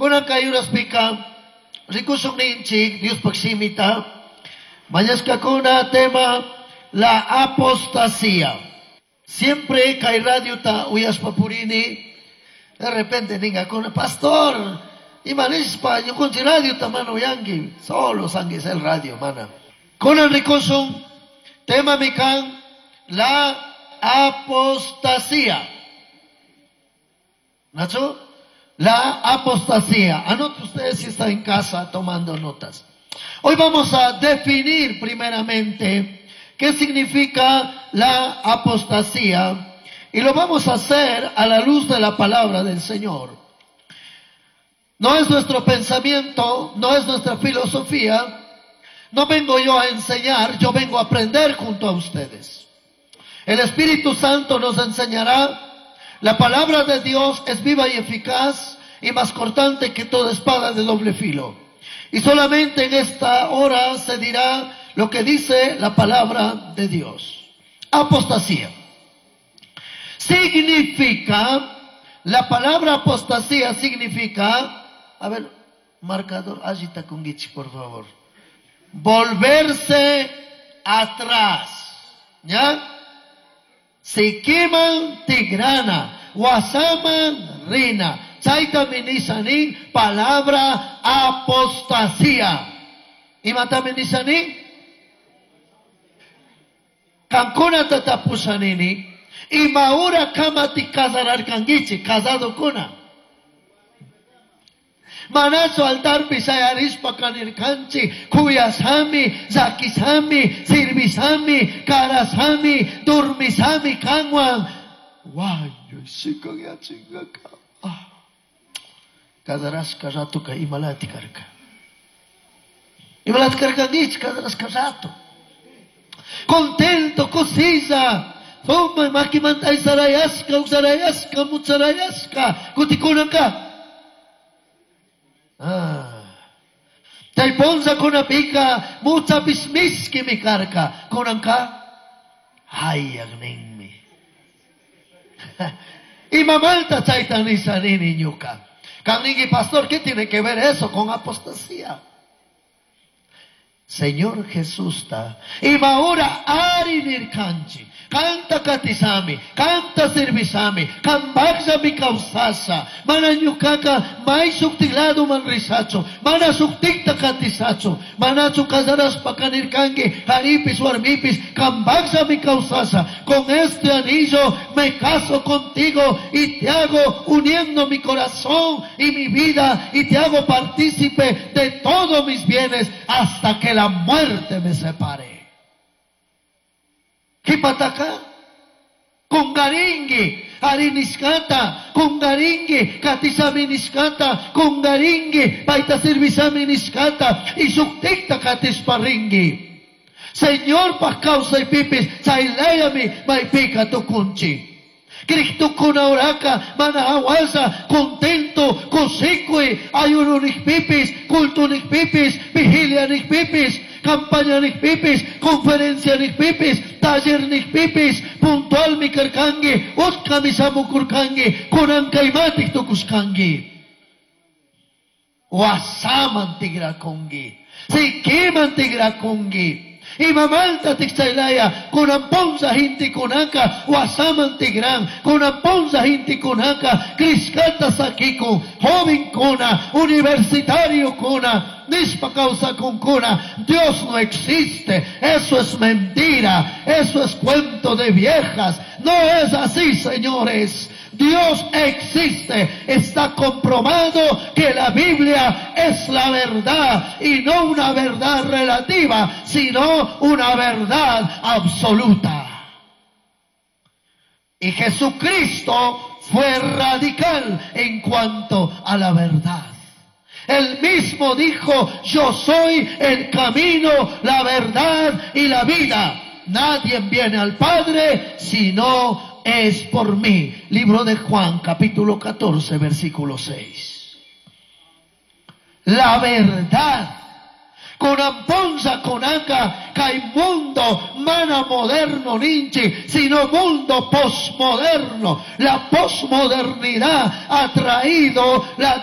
Kunan kay uraspika rikushun ninchik Diospaj shimita mañashkakuna tema la apostasía. Siempre kay radiota uyashpa purini, de repente ningakuna, pastor, ima nishpa ñukunchik radiota mana uyanki, solo sanguis el radio mana. Kunan rikushun tema mi kan la apostasía. ¿Nacho? La apostasía. Anote ustedes si están en casa tomando notas. Hoy vamos a definir primeramente qué significa la apostasía y lo vamos a hacer a la luz de la palabra del Señor. No es nuestro pensamiento, no es nuestra filosofía. No vengo yo a enseñar, yo vengo a aprender junto a ustedes. El Espíritu Santo nos enseñará. La palabra de Dios es viva y eficaz y más cortante que toda espada de doble filo. Y solamente en esta hora se dirá lo que dice la palabra de Dios. Apostasía. Significa, la palabra apostasía significa, a ver, marcador, allita kungichi, por favor. Volverse atrás. ¿Ya? Sikiman tigrana, wasaman rina. Chayta minisanin, palabra apostasía. Imata minisanin? Kankuna tatapusanini. Imaura kamati casararkangichi, casado kuna. Manazo altarpi shayarispa kanirkanchi, kuyasami, zakisami, sirvisami, karasami, durmisami, kanwan. Wañuy, sikanyachingaka. Ah. Casarashka ratuka imalati karka. Imalati karkangichi, casarashka rato. Contento, kusilla. Fuma, makimanta isarayashka, usarayashka, mucharayashka, kutikunanka. Ah. Chay ponza kunapika, mucha pismiski mi karka, kunanka, hayag ninmi. Imamalta chayta nisanini ñuka. Kanningi pastor, ¿qué tiene que ver eso con apostasía? Señor Jesús ta. Imaura ari nirkanchi. Kanta katisami, kanta servisami, kambaksa mi kausasa, mana ñukaka may suktilado man risacho, mana suktikta katisacho, manachu casaraspa kanirkangi, haripis warmipis, kambaksa mi kausasa, con este anillo me caso contigo y te hago uniendo mi corazón y mi vida y te hago partícipe de todos mis bienes hasta que la muerte me separe. Kipataka, kungaringi, hariniskata, kungaringi, katisaminiskata, kungaringi, paita servisaminiskata, y suktikta katisparingi. Señor, pa causa y pipis, chailayami, maipika tukunchi. Cristo kuna oraka, mana hawasa, contento, kusikui, ayuno pipis, culto pipis, vigilia pipis, campaña pipis, conferencia pipis, taller pipis, puntual mi karkangi, utka mi samukurkangi, kunankaymatik tukuskangi. Wasaman tigrakungi, sikiman tigrakungi. Imamalta tikchaylaya, kunamponza hinti kunaka, wasaman tigran, kunamponza hinti kunaka, kriskata sakiku, joven kuna, universitario kuna, nispa causa con kuna, Dios no existe, eso es mentira, eso es cuento de viejas, no es así, señores. Dios existe, está comprobado que la Biblia es la verdad y no una verdad relativa, sino una verdad absoluta. Y Jesucristo fue radical en cuanto a la verdad. Él mismo dijo, yo soy el camino, la verdad y la vida. Nadie viene al Padre sino es por mí. Libro de Juan, capítulo 14, versículo 6. La verdad. Kunamponza kunaka kay mundo mana moderno ninchi, sino mundo posmoderno. La posmodernidad ha traído la